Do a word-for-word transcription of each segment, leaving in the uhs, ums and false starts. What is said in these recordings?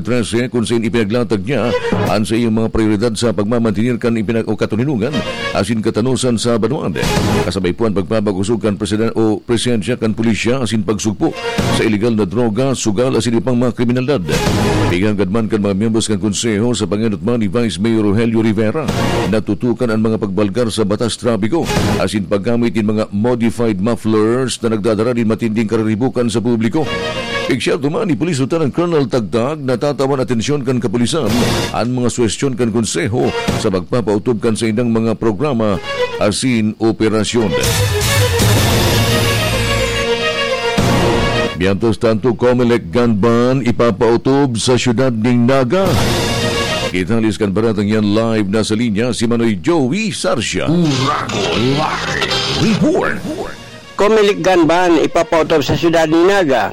trese, kun saen ipinaglatag niya an saiyang mga prioridad sa pagmamantener kan ipinag-, o katoninongan asin katanosan sa banwaan. Kasabay po an pagpapakosog kan presiden-, o presensya kan pulisya asin pagsugpo sa ilegal na droga, sugal asin iba pang mga kriminalidad. Igagad man kan mga miyembros kan Konseho sa pangenot man ni Vice Mayor Rogelio Rivera, natutukan an mga pagbalgar sa batas trapiko asin paggamit nin mga modified mufflers na nagdadara nin matinding kararibokan sa publiko. Igsyerto man ni Police Lieutenant Colonel Tagtag na tatawan atensyon kan kapulisan an mga suhestyon kan Konseho sa pagpapautob kan saindang mga programa asin operasyon. Mientras tanto, Comelec gun ban ipapautob sa siyudad nin Naga. Detalles kan baretang yan, live na sa linya si Manoy Joey Sarsia. Uragon Live Report. Comelec gun ban ipapautob sa siyudad nin Naga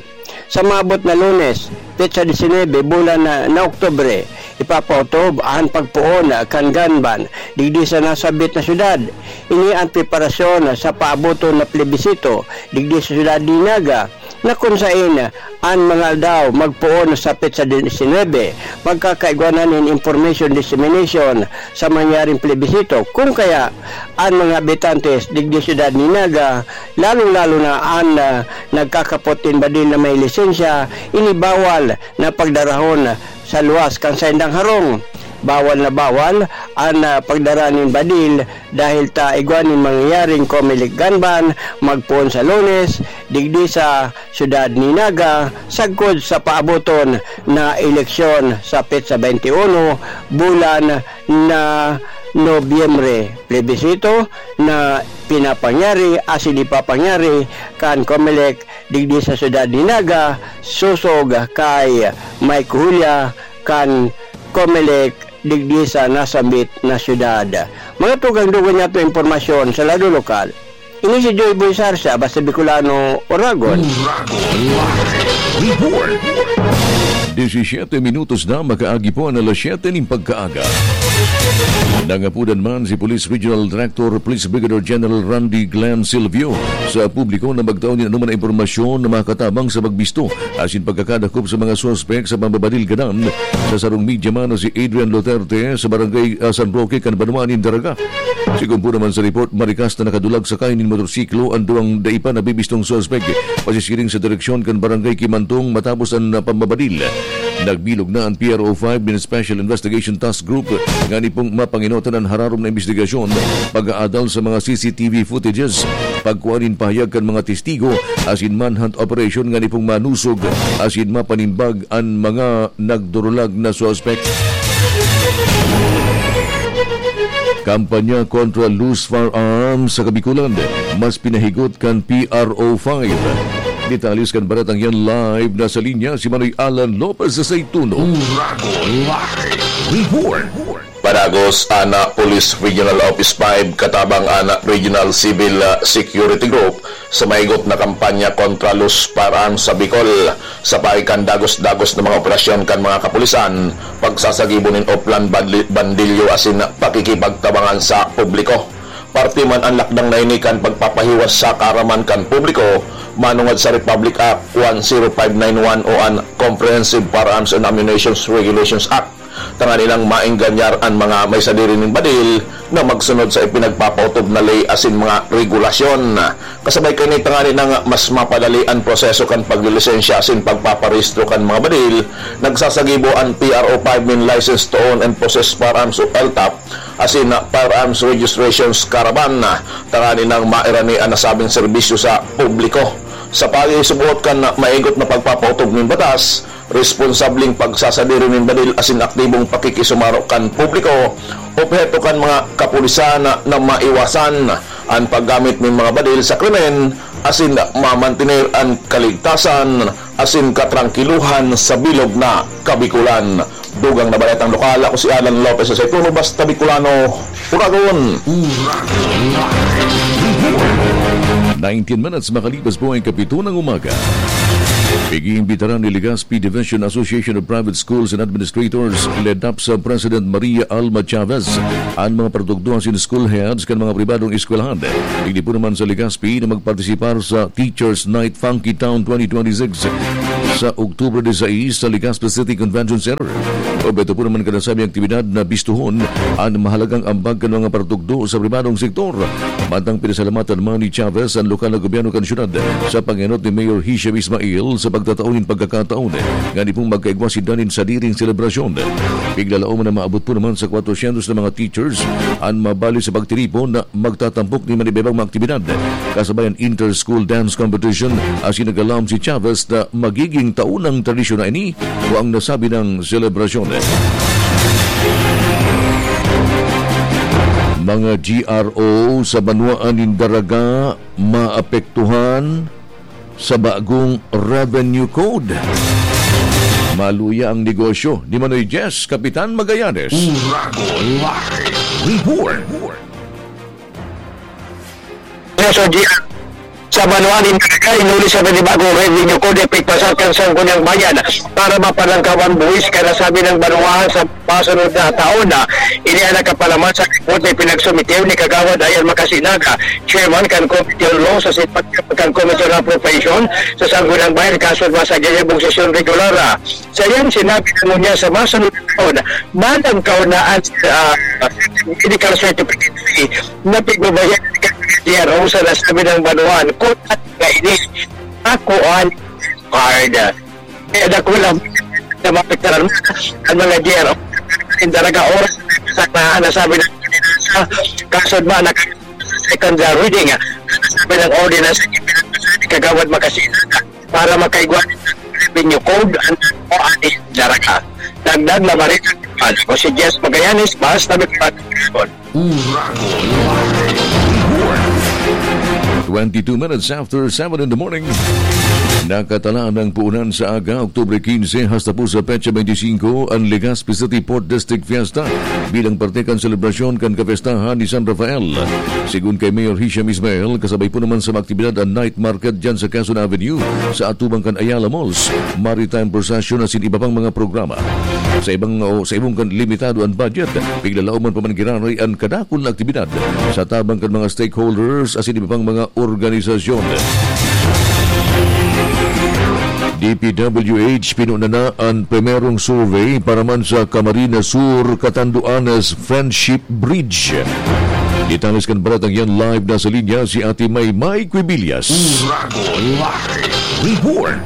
sa maabot na Lunes, petsa disinebe, bulan na, na Oktubre. Ipapautob an pagpoon kan gun ban digdi sa nasabit na syudad. Ini an preparasyon sa paaboton na plebisito digdi sa syudad nin Naga, na kun saen an mga aldaw magpoon sa petsa disinebe, magkakaigwanan nin information dissemination sa mangyaring plebisito. Kung kaya, an mga habitantes digdi syudad nin Naga, lalong-lalo na an, ah, nagkakapot nin badil na may lisensya, ini bawal na pagdarahon sa luwas kan saindang harong. Bawal na bawal an, ah, pagdara nin badil dahil ta igwa nin mangyayaring Comelec gun ban magpoon sa Lunes digdi sa syudad nin Naga, sagkod sa paaboton na eleksyon sa petsa twenty-one, bulan na Nobyembre. Plebisito na pinapangyari asin ipapangyari kan Comelec digdi sa syudad nin Naga, sosog kay Mike Julia kan Comelec digdi sa nasambit na syudad. Mga tugang dugang niya to impormasyon sa lado lokal. Ini si Joy Boy Sarsa, basta Bicolano, Oragon. Uragon Live Report. Disisiete minutos na makaagi po ang alas siyete nin pagkaaga. Nangapudan man si Police Regional Director, Police Brigadier General Randy Glenn Silvio, sa publiko na magtao nin anoman na impormasyon na makatabang sa pagbisto asin pagkakadakop sa mga suspek sa pambabadil gadan sa sarong media man na si Adrian Duterte sa barangay, ah, San Roque kan banwaan nin Daraga. Sigon po naman sa report, marikas na nakadulag sakay nin motorsiklo an duwang dai pa nabibistong suspek, pasisiring sa direksyon kan Barangay Kimantong matapos an, ah, pambabadil. Nagbilog na an P R O five nin Special Investigation Task Group ngani pong mapangenotan an hararom na imbestigasyon, pag-aadal sa mga C C T V footages, pagkua nin pahayag kan mga testigo, asin manhunt operation ngani pong manusog asin mapanimbag an mga nagdurulag na suspek. Kampanya kontra loose firearms sa Kabikulan, mas pinahigot kan P R O five. Detalles kan baretang yan, live na sa linya si Manoy Alan Lopez sa Saytuno. Uragon Live Report. Padagos, ana, Police Regional Office five katabang ana Regional Civil, ah, Security Group sa maigot na kampanya kontra loose firearms sa Bicol. Sa paagi kan dagos-dagos na mga operasyon kan mga kapulisan, pagsasagibo nin oplan, bandli-, bandilyo asin pakikipagtabangan sa publiko. Parte man an lakdang na ini kan pagpapahiwas sa kaaraman kan publiko manongod sa Republic Act one zero five nine one o an Comprehensive Firearms and Ammunition Regulations Act, tanganing maenganyar an mga may sadiri nin badil na magsunod sa ipinagpapautob na ley asin mga regulasyon. Kasabay kaini, tanganing mas mapadali an proseso kan paglilisensya asin pagpaparehistro kan mga badil, nagsasagibo an P R O five nin License to Own and Possess Firearms o L T O P asin Firearms Registrations Caravan, tanganing mairani an nasabing serbisyo sa publiko. Sa pagsusugot kan maigot na pagpapautob nin batas, responsabling pagsasadiri nin badil asin aktibong pakikisumaro kan publiko, obheto kan mga kapulisan na maiwasan an paggamit nin mga badil sa krimen asin mamantener an kaligtasan asin katrangkilohan sa bilog na Kabikulan. Dugang na baretang lokal, ako si Alan Lopez sa Saytuno, basta Bicolano, Uragon. Nineteen minutes makalipas po ang kapito ng umaga. Igiimbitaran ni Legazpi Division Association of Private Schools and Administrators, LEDAPSA President Maria Alma Chavez, ang mga produkto asin school heads kan mga pribadong eskwelahan. Digdi po naman sa Legazpi na magpartisipar sa Teachers Night Funky Town twenty twenty-six. sa October disais sa Legazpi City Convention Center. Objeto po naman kan nasabing aktibidad na bistuhon an mahalagang ambag kan mga partukdo sa pribadong sektor. Mantang pinasalamatan man ni Chavez an lokal na gobyerno kan syudad sa pangenot ni Mayor Hisham Ismail sa pagtatao nin pagkakataon nga di pong magkaigwa sinda nin sadiring selebrasyon. Piglalaom na maabot po naman sa kwatrosyentos na mga teachers an mabali sa pagtiripon na magtatampok nin manibaybang mga aktibidad, kasabay an inter-school dance competition, asin naglaom si Chavez na magiging taon ng tradisyon na ini o ang nasabi ng selebrasyon. Mga G R O sa banwaan nin Daraga maapektuhan sa bagong revenue code. Maluya ang negosyo ni Manoy Jess, Kapitan Magallanes. Uragon Live Report. Sa G R, sa banwaan nin Daraga, inuli sa panibagong revenue code, epekto sa kan Sangguniang Bayan para mapalangkaw an buwis kan nasabi ng banwaan sa masunod na taon. Ini ang nakapalaman sa report na pinagsumitiw ni Kagawad Ayan Makasinaga, chairman kan Committee on Law sa Sitpag kan Committee on Appropriation sa Sangguniang Bayan, kasunod sa gayabong sesyon regular. Sa iyang sinabi na ngunyan sa masunod na taon, malangkaw na ang, ah, medical certificate fee na pigbabayaran kan G R O sa nasabi ng banwaan. Kung at nga ini, ako ang card. Kaya dakula na maapektaran ang mga G R O. Ang Daraga oras sa na nasabi ng ordinansa, kasunod man na second reading, ah, nasabi ng ordinansa, ipinagpasa ni Kagawad Makasinaga para makaigwa ng revenue code ang o ani Daraga. Dagdag na barita, ako si Jess Magallanes, basta may Uragon Live Report. Twenty-two minutes after seven in the morning. Nakatalaan ng puunan sa aga, Oktubre quince, hasta po sa petsa twenty-five, ang Legazpi City Port District Fiesta bilang parte kan selebrasyon kan kapestahan ni San Rafael. Sigon kay Mayor Hisham Ismail, kasabay po naman sa mga aktibidad ang night market dyan sa Quezon Avenue, sa atubang kan Ayala Malls, maritime procession asin iba pang mga programa. Sa ibang o sa ibang kan limitado an budget, piglalaoman pa man giraray an kadakul na aktibidad sa tabang kan mga stakeholders asin iba pang mga organisasyon. D P W H, pinuna na an primerong survey para man sa Camarines Sur, Catanduanes Friendship Bridge. Detalles kan baretang yan, live na sa linya si Ate Maymay Quibillas. Uragon Live Report.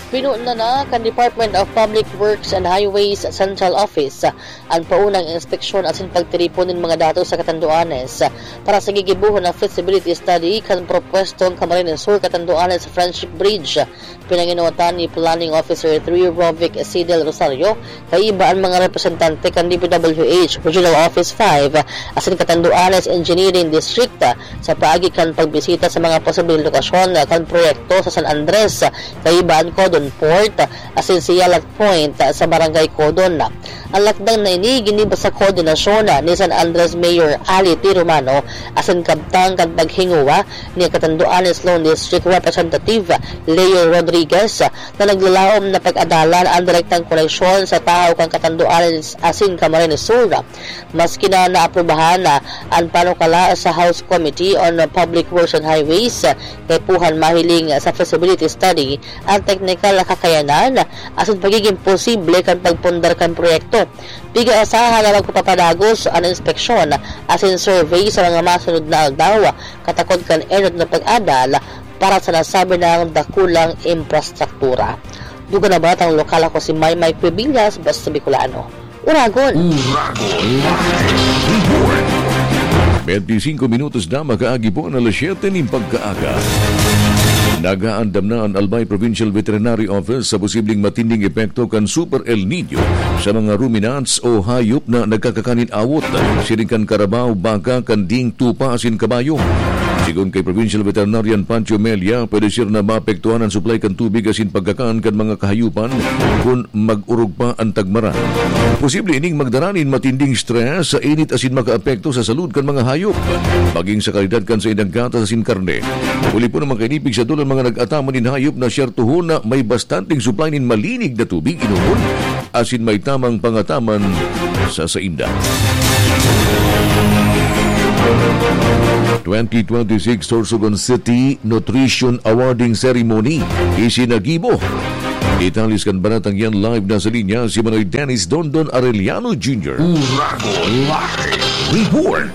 Pinuna na kan Department of Public Works and Highways Central Office an paunang inspeksyon asin pagtiripon nin mga datos sa Catanduanes para sa gigibohon na feasibility study kan propwestong Camarines Sur Catanduanes Friendship Bridge. Pinanginotan ni Planning Officer three Rovic C. Del Rosario kaiba an mga representante kan D P W H Regional Office five asin Catanduanes Engineering District sa paagi kan pagbisita sa mga posibleng lokasyon kan proyekto sa San Andres, kaiba an Codon Port asin Siyalat Point sa Barangay Codon. An lakdang na ini ginibo sa koordinasyon ni San Andres Mayor Ali T. Romano asin kabtang kan paghingowa ni Catanduanes Lone District Representative Leo Rodriguez na naglalaom na pag-adalan an direktang koneksyon sa tahaw kan Catanduanes asin Camarines Sur. Maski na naaprubahan na an panukala sa House Committee on Public Works and Highways, kaipuhan mahiling sa feasibility study an teknikal na kakayanan asin pagiging posible kan pagpundar kan proyekto. Pig-aasahan na magpapapadagos an inspeksyon asin survey sa mga masunod na aldaw, katakod kan enot na pag-adal para sa nasabi na dakulang infrastruktura. Dugang na baretang lokal, ako si Maymay Cuevillas, basta Bicolano. Uragon. Uragon Live Report. Bente singko minutos na makaagi po ang alas siyete nin pagkaaga. Nag-aandam na an Albay Provincial Veterinary Office sa posibleng matinding epekto kan Super El Niño sa mga ruminants o hayop na nagkakakan nin awot, siring kan karabaw, baka, kanding, tupa asin kabayo. Sigon kay Provincial Veterinarian Pancho Melia, pwede siya na maapektuhan an supply kan tubig asin pagkakan kan mga kahayupan kun mag-orog pa an tagmaran. Posible ining magdara nin matinding stress sa init asin makaapekto sa salud kan mga hayop, maging sa kalidad kan saindang gatas asin karne. Huli po naman kaini, pigsadol an mga nag-ataman nin hayop na siyertohon na may bastanteng supply nin malinig na tubig inomon asin may tamang pangataman sa sainda. Twenty twenty-six Sorsogon City Nutrition Awarding Ceremony isinagibo Detalyes kan baratang yan, live na sa linya si Manoy Dennis Dondon Arellano Junior. Uragon Live Report.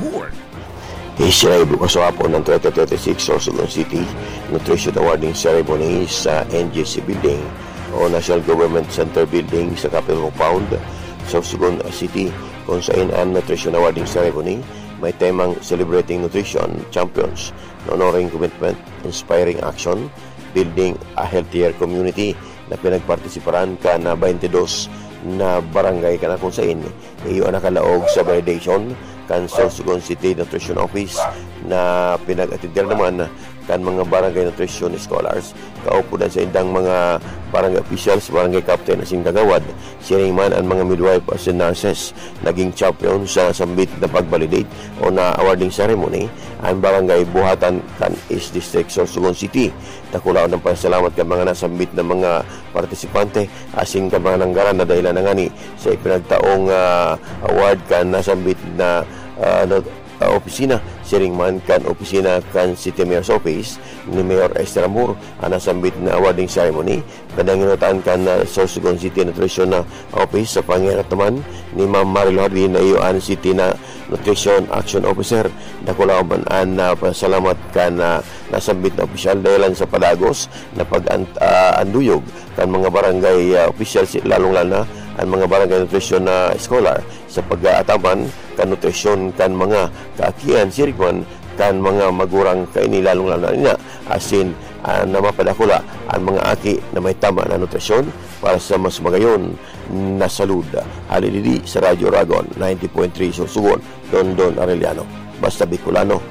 Isinibo kasuapon ng twenty twenty-six Sorsogon City Nutrition Awarding Ceremony sa N G C Building o National Government Center Building sa Capitol Compound, Sorsogon City, kung sain ang Nutrition Awarding Ceremony may temang Celebrating Nutrition Champions, Honoring Commitment, Inspiring Action, Building a Healthier Community, na pinagpartisiparan kan twenty-two na barangay, kan kung sain iyo an nakalaog sa validation kan Sorsogon City Nutrition Office, na pinag-atender naman kan mga barangay nutrition scholars, kaupod an saindang mga barangay officials, barangay captain asin kagawad, siring man an mga midwife asin nurses. Naging champion sa sambit na pag-validate o na awarding ceremony an barangay Buhatan kan East District, Sorsogon City. Dakulaon ang pasalamat kan mga nasambit na mga partisipante asin kan mga nanggaran na dahelan na ngani sa ipinagtaong, ah, award kan nasambit na, ah, no, ah, opisina, siring man kan opisina kan City Mayor's Office ni Mayor Esther Amor. An nasambit na awarding ceremony, pinanginutan kan, ah, Sorsogon City Nutrition na Office sa pangyayarap naman ni Ma'am Marilo Hardin na iyo an City na Nutrition Action Officer. Dakulaon man an, ah, pasalamat kan, ah, nasambit na opisyal dahelan sa padagos na pag-an-, ah, anduyog kan mga barangay, ah, opisyal, si-, lalong-lalo na an mga barangay nutrition na scholar sa pag-aataman kan nutrisyon kan mga kaakian, siring man kan mga magurang kaini, lalong-lalo na niya asin, ah, na mapadakula an mga aki na may tama na nutrisyon para sa mas magayon na salud. Hali digdi sa Radyo Uragon, ninety point three Sorsogon, Dondon Arellano. Basta Bicolano,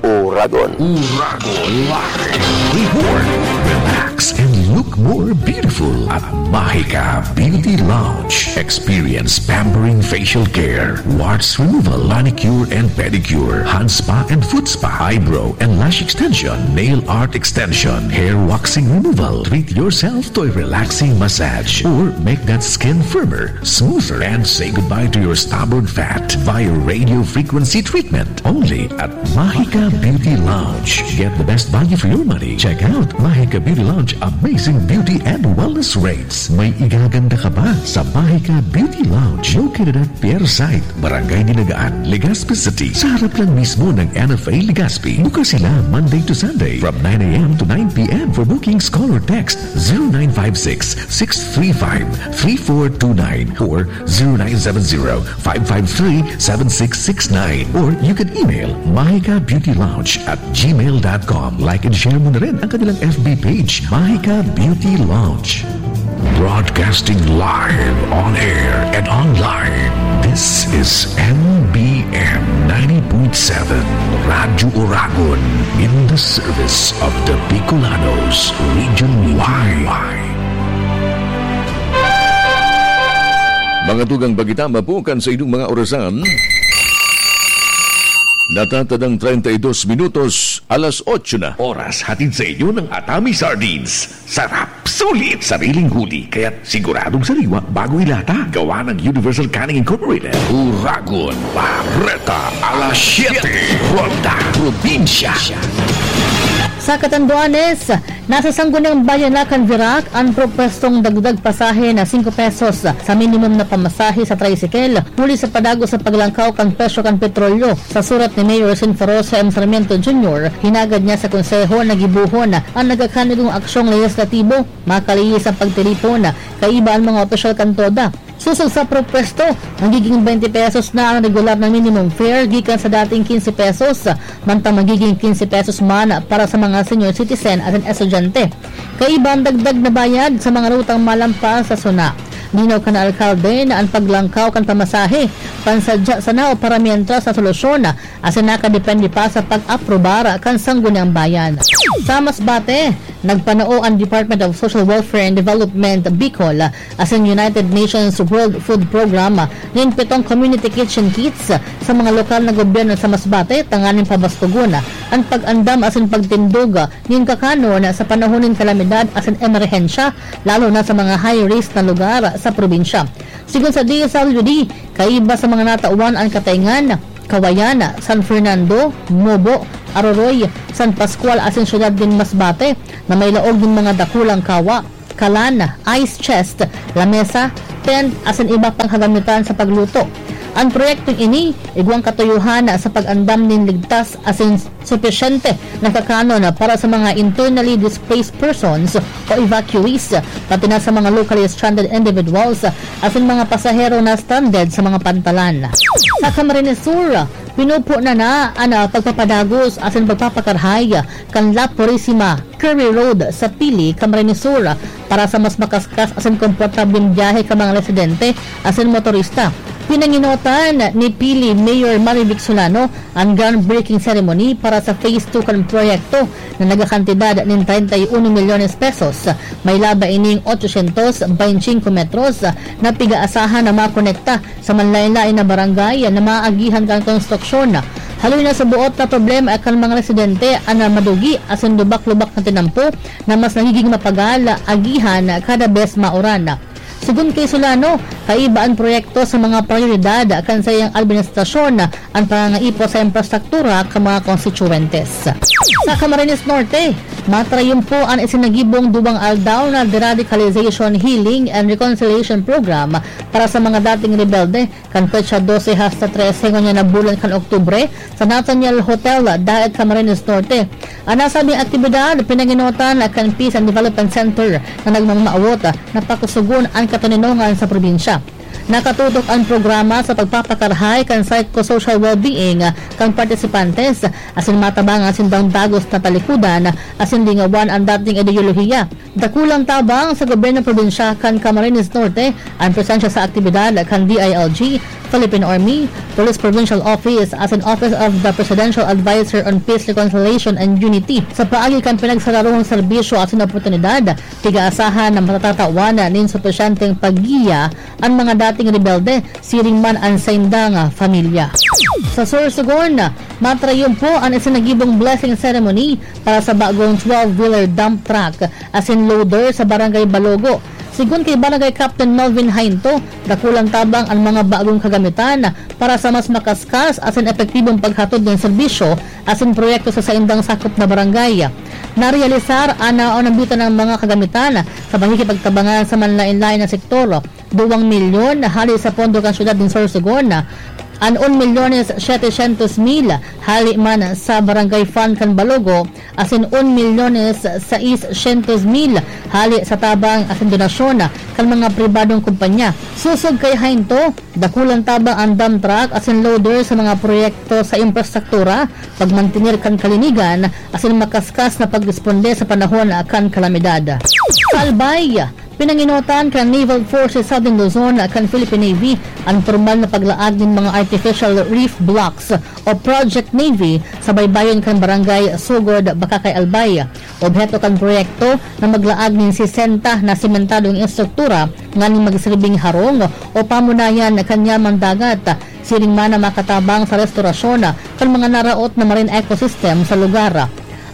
Uragon. Uragon Live Report. Relax and look more beautiful at Mahika Beauty Lounge. Experience pampering facial care, warts removal, manicure and pedicure, hand spa and foot spa, eyebrow and lash extension, nail art extension, hair waxing removal. Treat yourself to a relaxing massage or make that skin firmer, smoother, and say goodbye to your stubborn fat via radio frequency treatment. Only at Mahika Beauty Lounge. Get the best value for your money. Check out Mahika Beauty Lounge amazing beauty and wellness rates. May igaganda ka ba sa Mahika Beauty Lounge? Located at Pier Site, Barangay Dinagaan, Legazpi City, sa harap lang mismo ng N F A Legazpi. Bukas sila Monday to Sunday from nine a m to nine p m. For bookings, call or text zero nine five six, six three five, three four two nine or zero nine seven zero, five five three, seven six six nine. Or you can email mahika beauty lounge at gmail dot com. Like and share mo na rin ang kanilang F B page, Mahika Beauty Lounge. Broadcasting live, on air, and online. This is M B M ninety point seven, Radyo Uragon, in the service of the Bicolanos, Region Y. Mga tugang bagita, mapukan sa inyong mga orasan. Natatadang treinta y dos minutos, alas otso na. Oras hatid sa inyo ng Atami Sardines. Sarap, sulit, sariling huli, kaya't siguradong sariwa bago ilata. Gawa ng Universal Canning Incorporated. Uragon, Bareta, alas siyete, Ronda, Probinsya. Sa Catanduanes, nasa Sangguniang Bayan na kan Virac an propwestong dagdag pasahe na singko pesos sa minimum na pamasahe sa tricycle huli sa padagos sa paglangkaw kan presyo kan petrolyo. Sa surat ni Mayor Sinforosa M. Sarmiento Junior, hinagad niya sa Konseho na gibohon an nagkakanigong aksyong lehislatibo, makalihis ang pagtiripon kaiba an mga opisyal kan TODA. Sosog sa propwesto, magiging twenty pesos na ang regular na minimum fare gikan sa dating quince pesos, mantang magiging quince pesos man para sa mga senior citizen at an estudyante. Kaiba ang dagdag na bayad sa mga rutang malampas sa SONA. Linaw kan alkalde na ang paglangkaw kan pamasahe, pansadya sana o para mientras na solusyon, asin nakadepende pa sa pag-aprobar kan Sangguniang Bayan. Sa Masbate, nagpanao ang Department of Social Welfare and Development, Bicol, asin United Nations World Food Program nin pitong community kitchen kits sa mga lokal na gobyerno sa Masbate tanganing pabastogon an pag-andam asin pagtindog nin kakanon sa panahon nin kalamidad asin emerhensya, lalo na sa mga high-risk na lugar sa probinsya. Sigon sa D S W D, kaiba sa mga natawan an Katayngan, Cauayan, San Fernando, Mobo, Aroroy, San Pascual asin siyudad nin Masbate na may laog nin mga dakulang kawa. kalan, ice chest, lamesa, tent, asin iba pang kagamitan sa pagluto. An proyektong ini igwang katuyohan sa pag-andam nin ligtas asin supisyente na kakanon para sa mga internally displaced persons o evacuees, pati na sa mga locally stranded individuals asin mga pasahero na stranded sa mga pantalan. Sa Camarines Sur, pinupo na na an, ah, pagpapadagos asin pagpapakarhay kan La Purisima Curry Road sa Pili, Camarines Sur, para sa mas makaskas asin komportableng biyahe kan mga residente asin motorista. Pinanginotan ni Pili Mayor Marivic Solano an groundbreaking ceremony para sa Phase two kan proyekto na nagakantidad nin treinta y uno milyones pesos. May laba ining ochocientos veinticinco metros na pigaasahan na makonekta sa manlaen-laen na barangay na maagihan kan konstruksyon. Haloy na sa buot na problema kan mga residente an madugi asin lubak-lubak na tinampo na mas nagiging mapagal agihan kada bes mauran. Sigon kay Solano, kaiba an proyekto sa mga prayoridad kan saiyang administrasyon an pangangaipo sa infrastruktura kan mga konstituyentes. Sa Camarines Norte, matrayumpo an isinagibong duwang aldaw na Deradicalization, Healing and Reconciliation Program para sa mga dating rebelde kan petsa dose hasta trese ngunyan na bulan kan Oktubre sa Nathaniel Hotel, Daet, Camarines Norte. An nasabing aktibidad pinanginotan kan Peace and Development Center na nagmamawot na pakusugon an katoninongan sa probinsya. Nakatutok an programa sa pagpapakarahay kan psychosocial well-being kan partisipantes asin matabangan sindang dagos na talikodan asin lingawan an dating ideolohiya. Dakulang tabang sa gobyerno probinsyal kan Camarines Norte an presensya sa aktibidad kan D I L G, Philippine Army, Police Provincial Office asin Office of the Presidential Advisor on Peace, Reconciliation and Unity. Sa paagi kan pinagsararong serbisyo asin oportunidad, pigaasahan na matatatawan nin supisyenteng paggiya an mga dating rebelde, siring man an saindang, ah, pamilya. Sa Sorsogon, matrayumpo an isinagibong blessing ceremony para sa bagong twelve-wheeler dump truck asin loader sa Barangay Balogo. Sigon kay Barangay Captain Melvin Hainto, dakulang tabang an mga bagong kagamitan para sa mas makaskas asin epektibong paghatod nin serbisyo asin proyekto sa saindang sakop na barangay. Narealisar an naonabitan ng mga kagamitan sa pakikipagtabangan sa manlaen-laen na sektor. Duwang milyon hali sa pondo kan syudad nin Sorsogon, an un milyones setecientos mil hali man sa Barangay Fund kan Balogo, asin un milyones seiscientos mil hali sa tabang asin donasyon kan mga pribadong kumpanya. Sosog kay Hainto, dakulang tabang an dump truck asin loader sa mga proyekto sa infrastruktura, pagmantener kan kalinigan, asin makaskas na pagresponde sa panahon kan kalamidad. Sa Albay, pinanginotan kan Naval Forces Southern Luzon kan Philippine Navy an pormal na paglaag nin mga artificial reef blocks o Project Navy sa baybayon kan Barangay Sugod, Bacacay, Albay. Obheto kan proyekto na maglaag nin sesenta na sementadong estruktura nganing magsirbing harong o pamunayan kan yaman dagat, siring man na makatabang sa restorasyon kan mga naraot na marine ecosystem sa lugar.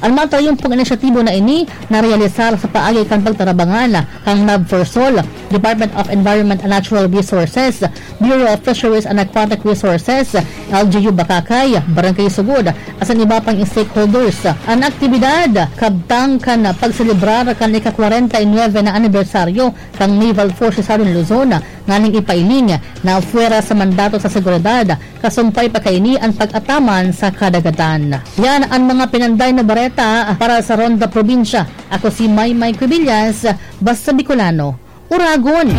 An matrayumpong inisyatibo na ini narealisar sa paagi kan pagtarabangan kan NAVFORSOL, Department of Environment and Natural Resources, Bureau of Fisheries and Aquatic Resources, L G U Bacacay, Barangay Sugod, asin iba pang stakeholders. An aktibidad kabtang kan pagselebrar kan ika-kwarenta y nuebe na anibersaryo kan Naval Forces Southern Luzon, nganing ipailing na apwera sa mandato sa seguridad, kasumpay pa kaini an pag-ataman sa kadagatan. Yan an mga pinanday na bareta para sa Ronda Probinsya. Ako si Maymay Cubillas, Basta Bicolano, Uragon!